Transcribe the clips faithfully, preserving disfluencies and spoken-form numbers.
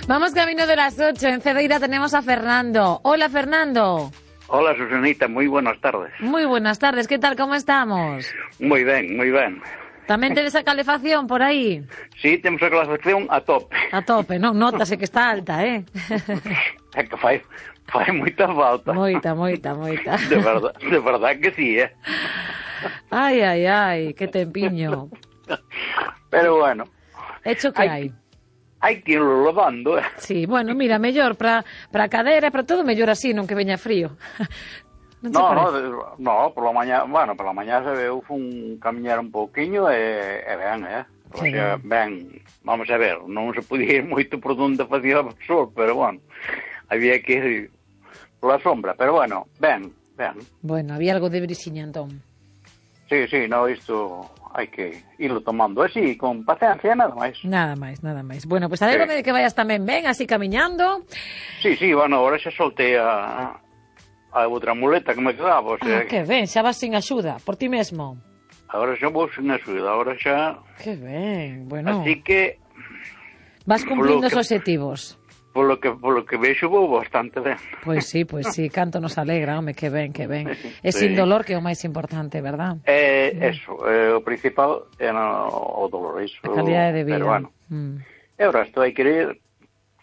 Vamos camino de las ocho. En Cedeira tenemos a Fernando. Hola, Fernando. Hola, Susanita, muy buenas tardes. Muy buenas tardes, ¿qué tal? ¿Cómo estamos? Muy ben, moi ben. Tamén tedes a calefacción por aí? Sí, temos a calefacción a tope. A tope, non? Nótase que está alta, eh? É que fai, fai moita falta. Moita, moita, moita. De verdad, de verdad que sí, eh? Ai, ai, ai, que tempiño. Pero bueno. Hecho que hai. Hai que irlo levando, eh? Sí, bueno, mira, mellor para para a cadera, para todo, mellor así, non que veña frío. Non no, no, no, por la mañá, bueno, por la mañá se veu fun camiñar un pouquiño e, e ben, eh? O sí, sea, ben, vamos a ver, non se podía ir moito por onde facía o sol, pero bueno, había que ir pola sombra, pero bueno, ben, ben. Bueno, había algo de brisiña, entón. Sí, sí, no, isto hai que irlo tomando así, con paciencia, nada máis. Nada máis, nada máis. Bueno, pois pues alégrome sí. de que vayas tamén ben, así camiñando. Sí, sí, bueno, ahora xa soltei a... a outra muleta que me quedaba, o sea... Ah, que ben, xa vas sin axuda, por ti mesmo. Agora xa vou sin axuda, agora xa... Que ben, bueno... Así que... Vas cumplindo os obxectivos. Polo que, polo que vexo vou bastante ben. Pois sí, pois sí, canto nos alegra, home, que ben, que ben. É sí. Sin dolor que é o máis importante, verdad? É, mm. eso, é, o principal é no, o dolor, iso... A calidade de vida. Pero bueno, mm. e o resto hai que ir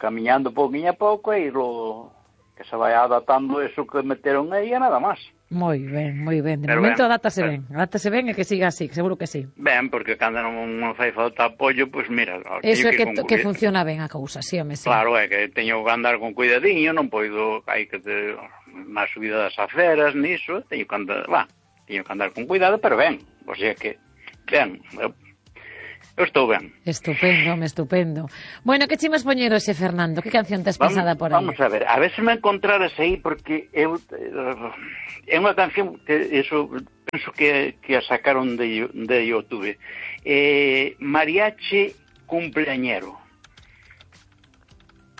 camiñando pouquinho a pouco e irlo... que se vai adaptando eso que meteron aí e nada máis. Moi ben, moi ben. De pero momento ben, adaptase pero... ben. Adaptase ben e que siga así, seguro que sí. Ben, porque cando non, non fai falta apoio, pois pues mira... Eso é que, que, que funciona ben a cousa, sí, home, sí. Claro, é que teño que andar con cuidadiño, non poido... Hai que ter máis subida das aceras, niso, teño que andar... Va, teño que andar con cuidado, pero ben. O sea que, ben... Eu, Eu estou ben. Estupendo, home, estupendo. Bueno, que chimas poñer hoxe, Fernando? Que canción tes pensada por aí? Vamos a ver, a ver se me encontraras aí, porque eu... É unha canción que eso penso que, que a sacaron de, de YouTube. Eh, Mariachi Cumpleañero.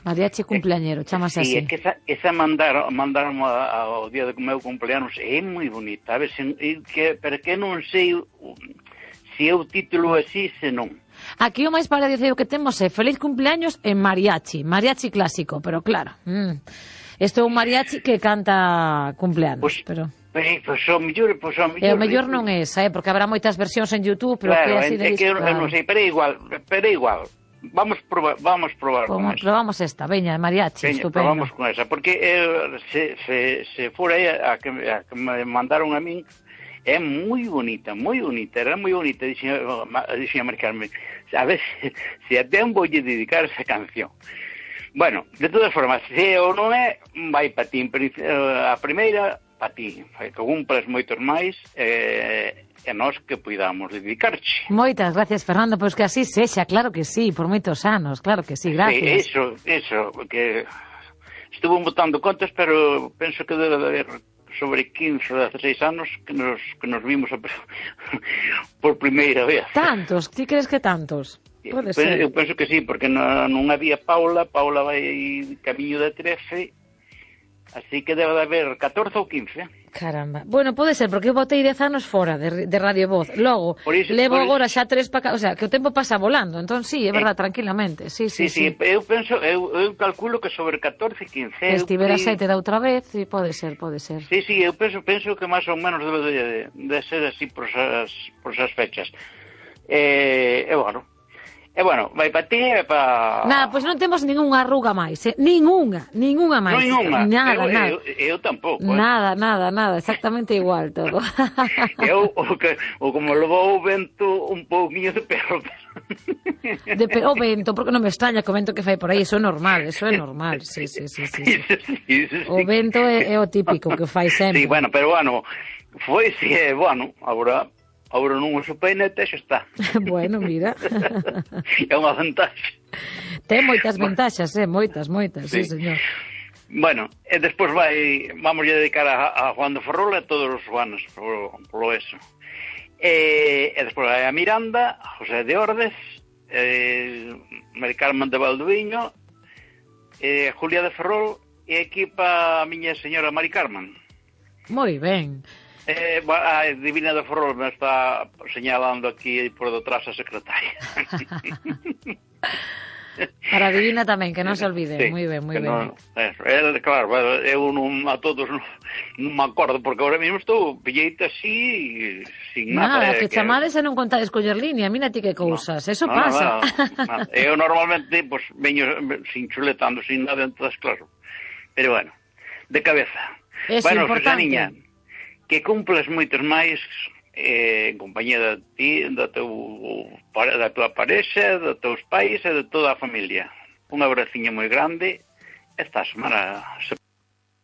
Mariachi Cumpleañero, chamase sí, así. Sí, é que esa, esa mandaron, mandaron ao día do meu cumpleanos, é moi bonita. A ver, se, que, pero que non sei... se é o título así, se non. Aquí o máis parecido que temos é Feliz cumpleaños en mariachi, mariachi clásico, pero claro, mm, isto é un mariachi que canta cumpleanos, pues, pero... Pois pues, o mellor, pois pues, o mellor... E o mellor non é esa, eh, porque habrá moitas versións en YouTube, pero claro, que é así de... É que eu, eu non sei, pero é igual, pero é igual. Vamos probar, vamos probar Como, con esa. Probamos esta, veña, mariachi, veña, estupendo. Probamos con esa, porque eh, se, se, se fora aí a que, a que me mandaron a min, é moi bonita, moi bonita, era moi bonita, dixen a marcarme, a ver se, se até un voulle dedicar esa canción. Bueno, de todas formas, se ou non é, vai pa ti, a primeira, pa ti, que cumplas moitos máis, eh, e nós que puidamos dedicarche. Moitas gracias, Fernando, pois que así sexa, claro que sí, por moitos anos, claro que sí, gracias. Sí, eso, eso, que estuvo botando contas, pero penso que debe de haber sobre quince, dezasseis anos que nos, que nos vimos a, por primeira vez. Tantos? Ti crees que tantos? Pode ser. Eu penso que sí, porque non, non había Paula, Paula vai camiño de trece, así que debe de haber catorce ou quince. Caramba. Bueno, pode ser, porque eu botei dez anos fora de, de Radio Voz. Logo, iso, levo agora xa tres para... O sea, que o tempo pasa volando. Entón, sí, é verdad, eh, tranquilamente. Sí, sí, sí, sí. sí. Eu penso, eu, eu calculo que sobre catorce, quince... Estivera eu... sete da outra vez, sí, pode ser, pode ser. Sí, sí, eu penso, penso que máis ou menos debe de, de ser así por esas, por esas fechas. E, eh, bueno... E, bueno, vai para ti e para... Nada, pois non temos ningunha arruga máis, eh? Ningunha, ningunha máis. Ningunha, nada, eu, nada. Eu, eu tampouco. Eh? Nada, nada, nada, exactamente igual todo. Eu, o, que, o como levou o vento un pouquinho de perro. De perro, o vento, porque non me extraña que o vento que fai por aí, eso é normal, eso é normal, sí, sí, sí, sí, sí. sí, sí, sí. O vento é, é o típico que fai sempre. Sí, bueno, pero bueno, foi, sí, bueno, agora... Agora non uso peinete, xa está. Bueno, mira. É unha vantaxe. Ten moitas ventaxas, eh, moitas, moitas, sí, sí señor. Bueno, e despois vai, vamos a dedicar a, a Juan de Ferrol e a todos os Juanes polo, polo eso. E, e despois vai a Miranda, a José de Ordes, e, Mari Carmen de Valdoviño, e Julia de Ferrol, e aquí pa a miña señora Mari Carmen. Moi ben. Eh, a Divina de Ferrol me está señalando aquí por detrás a secretaria. Para a Divina tamén, que non se olvide. Sí, moi ben, moi ben. Non, eso, el, claro, eu non a todos non, non me acordo, porque agora mesmo estou pilleite así, sin nada. Nada, eh, que, que chamades e non contades coller línea, mira ti que cousas, no, eso no, pasa. No, no, no. Eu normalmente, pues, veño sin chuletando, sin nada, entonces, claro. Pero bueno, de cabeza. Eso bueno, importante. Susaniña, que cumplas moitos máis eh, en compañía de ti, da, teu, da tua parexa, dos teus pais e de toda a familia. Un abraciño moi grande. Esta semana se